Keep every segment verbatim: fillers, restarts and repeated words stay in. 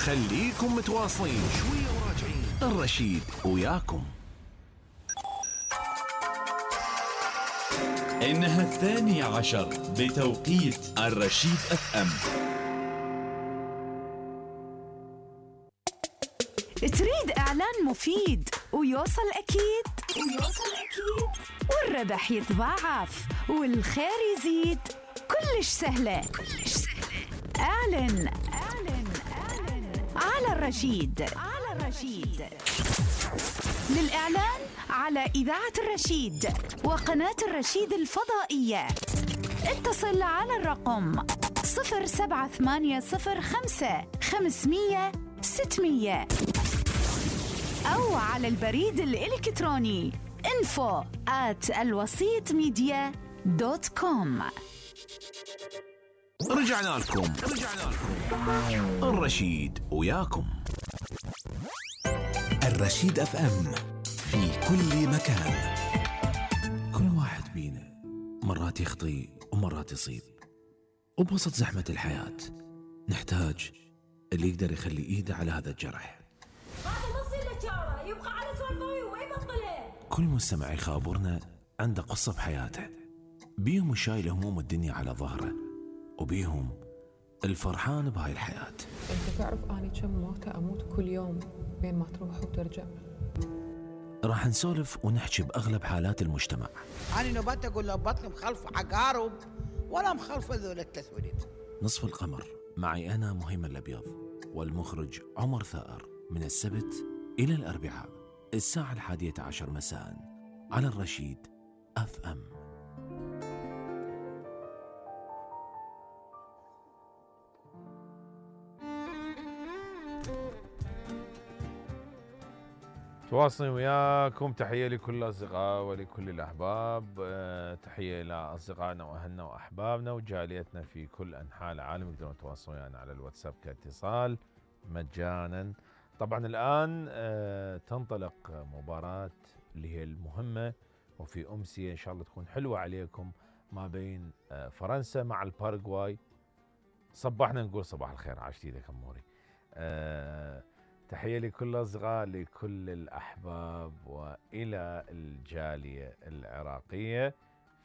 خليكم متواصلين شوية وراجعين. الرشيد وياكم. إنها الثانية عشر بتوقيت الرشيد اف ام. تريد إعلان مفيد ويوصل أكيد ويوصل أكيد والربح يتضاعف والخير يزيد؟ كلش سهلة كلش سهلة. اعلن اعلن اعلن على الرشيد على الرشيد. للإعلان على إذاعة الرشيد وقناة الرشيد الفضائية اتصل على الرقم صفر سبعة ثمانية صفر خمسة خمسمية ستمية أو على البريد الإلكتروني info at الوسيط ميديا دوت كوم. رجعنا لكم رجعنا لكم الرشيد وياكم. الرشيد اف ام في كل مكان. كل واحد بينا مرات يخطي ومرات يصيب، وبوسط زحمة الحياة نحتاج اللي يقدر يخلي ايده على هذا الجرح. هذا نص الاشاره يبقى على سولفوي وما يبطله. كل مستمع يخابرنا عنده قصة بحياته، بيهم شايل هموم الدنيا على ظهره، وبيهم الفرحان بهاي الحياة. انت تعرف اني كم موتة اموت كل يوم بين ما تروح وترجع. راح نسولف ونحكي بأغلب حالات المجتمع. أنا نبات أقول له بطل مخلف عقارب ولا مخلف ذول التسويد. نصف القمر معي أنا مهيمن الأبيض والمخرج عمر ثائر، من السبت إلى الأربعاء الساعة الحادية عشر مساء على الرشيد اف ام. تواصلين وياكم. تحية لكل الأصدقاء ولكل الأحباب. أه تحية إلى أصدقائنا وأهلنا وأحبابنا وجاليتنا في كل أنحاء العالم. يقدرون يتواصلون يعني على الواتساب كاتصال مجانا. طبعا الآن أه تنطلق مباراة اللي هي المهمة وفي أمسية إن شاء الله تكون حلوة عليكم ما بين أه فرنسا مع الباراغواي. صباحنا نقول صباح الخير عاشتيدك أموري. أه تحية لكل الأصدقاء لكل الأحباب وإلى الجالية العراقية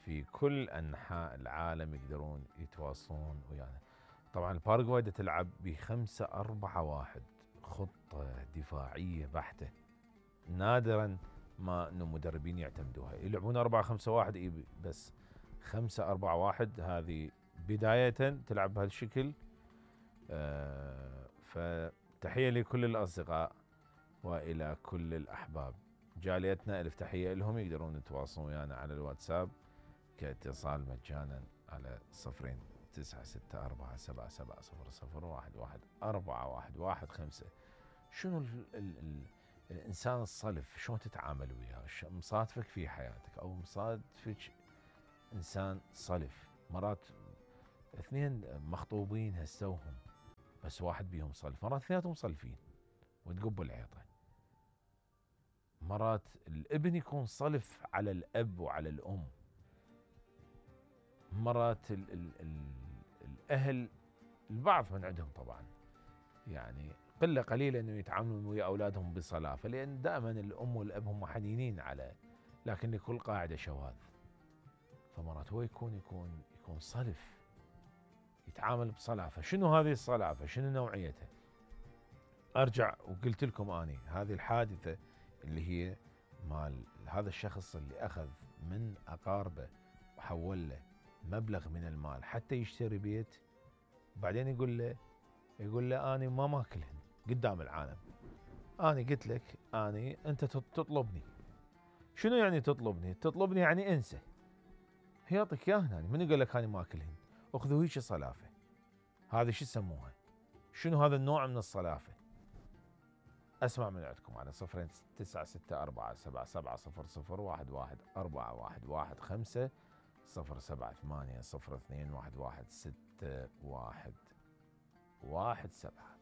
في كل أنحاء العالم يقدرون يتواصلون ويانا. طبعا الباراغواي تلعب بخمسة أربعة واحد، خطة دفاعية بحتة، نادرا ما أن المدربين يعتمدوها. يلعبون أربعة خمسة واحد بس خمسة أربعة واحد هذه بداية تلعب بهالشكل. آه ف تحية لكل الأصدقاء وإلى كل الأحباب. جاليتنا ألف تحية لهم. يقدرون يتواصلون ويانا على الواتساب كاتصال مجانا على صفرين تسعة ستة أربعة سبعة سبعة صفر صفر واحد واحد أربعة واحد واحد خمسة. شنو ال ال ال الإنسان الصلف شلون تتعامل وياه؟ مصادفك في حياتك أو مصادفك إنسان صلف؟ مرات اثنين مخطوبين هسوهم بس واحد بيهم صلف، مرات اثنيناتهم صلفين وتقبوا العيطة. مرات الابن يكون صلف على الأب وعلى الأم. مرات ال ال ال الأهل البعض من عندهم طبعا يعني قلة قليلة أنه يتعاملون ويا أولادهم بصلافة، لأن دائما الأم والأب هم حنينين على، لكن لكل قاعدة شواذ. فمرات هو يكون يكون يكون صلف يتعامل بصلافة. شنو هذه الصلافة؟ شنو نوعيتها؟ أرجع وقلت لكم أني هذه الحادثة اللي هي مال هذا الشخص اللي أخذ من أقاربه وحول له مبلغ من المال حتى يشتري بيت، بعدين يقول له يقول له أني ما ماكلهن قدام العالم. أني قلت لك أني أنت تطلبني. شنو يعني تطلبني؟ تطلبني يعني انسى. يعطيك إياهن يعني من يقول لك أني ماكلهن؟ أخذوا هيك صلافة. هذا شو يسموها؟ شنو هذا النوع من الصلافة؟ أسمع من عندكم على صفرين تسعة ستة أربعة سبعة سبعة صفر صفر واحد واحد أربعة واحد واحد خمسة صفر سبعة ثمانية صفر اثنين واحد واحد ستة واحد واحد سبعة.